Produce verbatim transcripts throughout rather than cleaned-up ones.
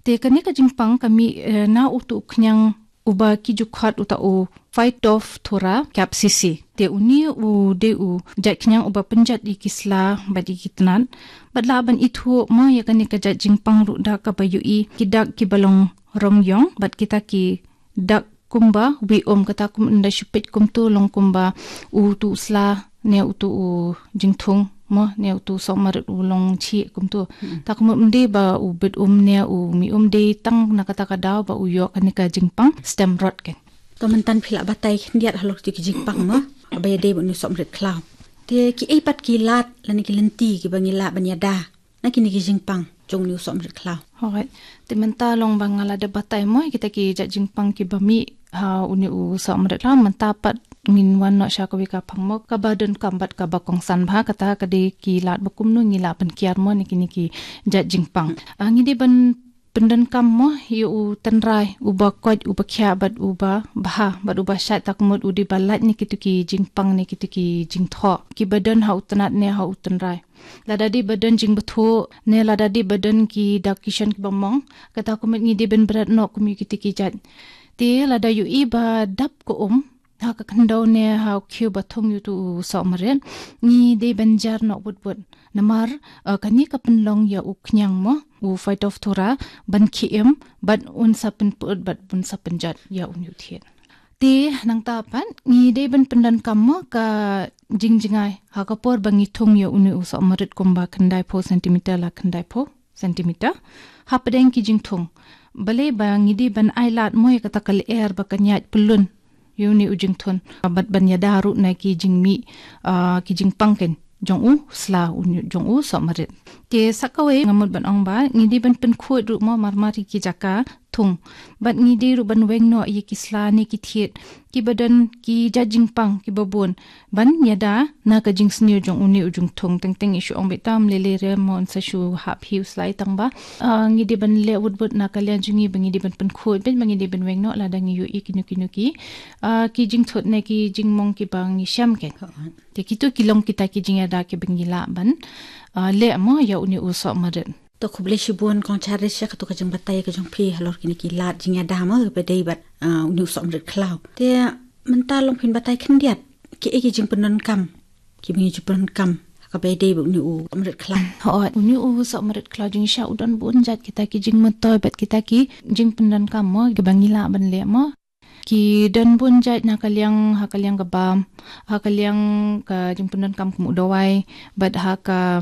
Te kane ka jingpang ka mih, eh, na utu u khñiang uba ki ju khot uta u Phytophthora capsicum. Te une u dei u jait khñiang uba pynjot ïa ki sla bad ïa ki tnat. Bad lah ban ithuh mo ïa kane ka jait jingpang ruh da kaba ïohi ki dak kiba long rong ïong bad kita ki dak kumba wi um, kata kum ynda shu peit kumtu long kumba utu u sla ne utu u jingthung mo ne utu u sohmarit u long chih kumtu. Ta kumut ym dei ba u bit um ne u mih um, dei tang na kata ka daw ba u ïoh kane ka jingpang stem rot keiñ. To mynta phi la batai khyndiat halor kito ki jingpang mo, ba ïadei bad une u sohmarit khlaw. Te kiei pat ki lad lane ki lynti kiba ngi lah ban ïada na kine ki jingpang jong une u sohmarit khlaw? Alright. Te mynta long ba nga la dep batai mo ïa kita ki jait jingpang kiba mih ha une u sohmarit khlaw, mynta pat ngin wan noh sha kawei ka phang mo kaba donkam bad kaba kongsan bha, kata ka dei ki lad ba kumno ngi lah ban kiar mo na kine ki jait jingpang. Ah, ngi dei ban pyndonkam mo ïa u tynrai uba koit, uba khiah bad uba bha bad uba shait, ta kumut u dei ba lait na kito ki jingpang ne kito ki jingthoh kiba don ha u tnat ne ha u tynrai. Lada dei ba don jingbthuh ne lada dei ba don ki dak ki shon kiba mong, kata kumut ngi dei ban bret noh kum ïa kito ki jait. Te lada ïohi ba dap ka um ha ka khyndew ne ha u khiew ba thung ïa utu u sohmarit, ngi dei ban jar noh wut wut. Namar, eh, kane ka pynlong ïa u khñiang mo, u Phytophthora, ban khie im bad un sa pynpyut bad un sa pynjot ïa une u thied. Te nangta pat ngi dei ban pyndonkam mo ka jingjngai ha ka por ba ngi thung ïa une u sohmarit kumba khyndai phew centimeter la khyndai phew centimeter. Hapdeng ki jingthung, balei ba ngi dei ban ai lad mo ïa kata ka lyer ba kan ïaid pyllun ïa une u jingthung bad ban ïada ruh na ki jingmih, ah, ki jingpang keiñ jong u sla, une jong u sohmarit. Te sa kawei nga mut ban ong ba ngi dei ban pynkhuid ruh mo marmar ïa ki jaka thung. Bad ngi dei ruh ban weng noh ïa ki sla ne ki thied kiba don ki jait jingpang kiba bun ban ïada na ka jingsniew jong une u jingthung. Teng teng i shu ong beit tam lei lei re mo, yn sa shu hap hi u sla, tang ba, ah, ngi dei ban leh wut wut na ka liang jong ngi ba ngi dei ban pynkhuid beit, ba ngi dei ban weng noh lada ngi ïohi kino kino ki, ah, ki jingthut ne ki jingmong kiba ngi shem keiñ. Te kito ki long kita ki jingïada kiba ngi lah ban, ah, leh mo ïa une u sohmarit. To khublei shibun Kong Charish ïa kato ka jingbatai ka jong phi halor kine ki lad jingïada mo ba dei bad, ah, une u sohmarit khlaw. Te mynta long phin batai khyndiat kiei ki jingpyndonkam kiba ngi ju pyndonkam ha kaba ïadei bad une u sohmarit khlaw. Hooid, une u sohmarit khlaw jingshah u don bun jait kita ki jingmyntoi bad kita ki jingpyndonkam mo kiba ngi lah ban leh mo. Ki don bun jait na ka liang, ha ka liang ka bam, ha ka liang ka jingpyndonkam kum u dawai, bad ha ka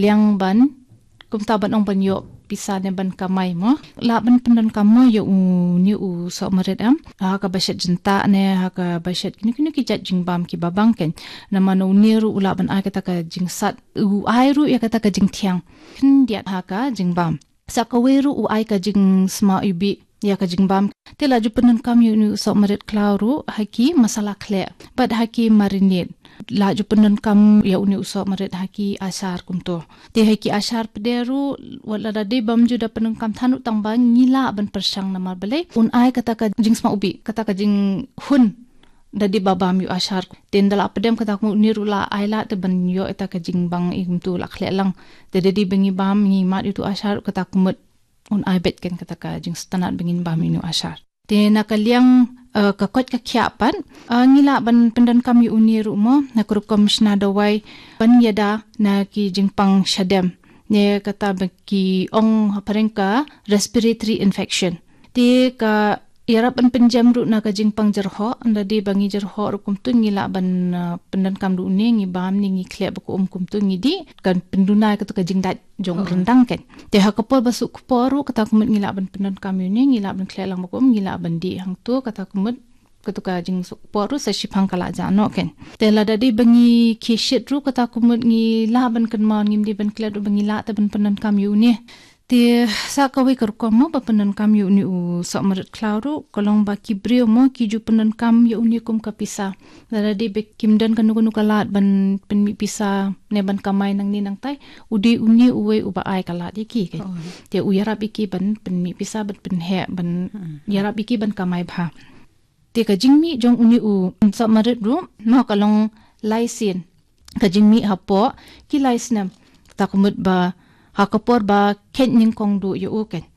liang ban, kumta ban ong ban ïoh pisa ne ban kamai mo. Lah ban pyndonkam mo ïa une u sohmarit em ha kaba shet jyntah ne ha kaba shet kino kino ki jait jingbam kiba bang keiñ. Namar na une ruh u lah ban ai kata ka jingsat, u ai ruh ïa kata ka jingthiang khyndiat ha ka jingbam. Sa kawei ruh u ai ka jingsma iwbih ïa ka jingbam. Te la ju pyndonkam ïa une u sohmarit khlaw ruh ha ki masala khleh bad ha ki marinade. La ju pyndonkam ïa une u sohmarit ha ki ashar kumto. Te ha ki ashar pat de ruh, wat lada dei bym ju da pyndonkam than ruh, tang ba ngi lah ban pyrshang namar balei, un ai kata ka jingsma iwbih, kata ka jinghun da dei ba bam ïa u ashar. Te ynda la pdem kata kumut une ruh la ai lad te ban ïoh ïa kata ka jingbang i kumtu la khleh lang. Te da dei ba ngi bam, ngi mad ïa utu u ashar, kata kumut un ai beit keiñ kata ka jingsngewtynnat ba ngin bam ïa une u ashar. Te na ka liang, eh, ka koit ka khiah pat, eh, ngi lah ban pyndonkam ïa une ruh mo na ka rukom shna dawai ban ïada na ki jingpang shadem ne kata ba ki ong ha phareng ka respiratory infection. Te ka ïarap ban pynjem ruh na ka jingpang jyrhoh, ynda dei ba ngi jyrhoh ruh kumtu ngi lah ban, ah, pyndonkam ruh une, ngi bam ne ngi khleh ba ka um kumtu ngi dih, kan pynduna ïa katu ka jingdait jong u ryndang keiñ. Te ha ka por ba suk kpoh ruh kata kumut ngi lah ban pyndonkam ïa une, ngi lah ban khleh lang ba ka um, ngi lah ban dih hangtu kata kumut, katu ka jingsuk kpoh ruh sa shiphang ka la jah noh keiñ. Te lada dei ba ngi khie shit ruh kata kumut ngi lah ban kynmaw, ngim dei ban klet ruh ba ngi lah te ban pyndonkam ïa une. Te sa kawei ka rukom mo ba pyndonkam ïa une u sohmarit khlaw ruh ka long ba ki briew mo ki ju pyndonkam ïa une kum ka pisa. Lada dei ba kim don kano kano ka lad ban pynmih pisa ne ban kamai nangne nangtai, u dei une uwei uba ai ka lad ïa ki keiñ. Te u ïarap ïa ki ban pynmih pisa, ban pynheh, ban ïarap ïa ki ban kamai bha. Te ka jingmih jong une u sohmarit ruh mo ka long lai sien. Ka jingmih hapoh ki lai snem, kata kumut ba ha ka por ba khein nyngkong duh ïa u keiñ.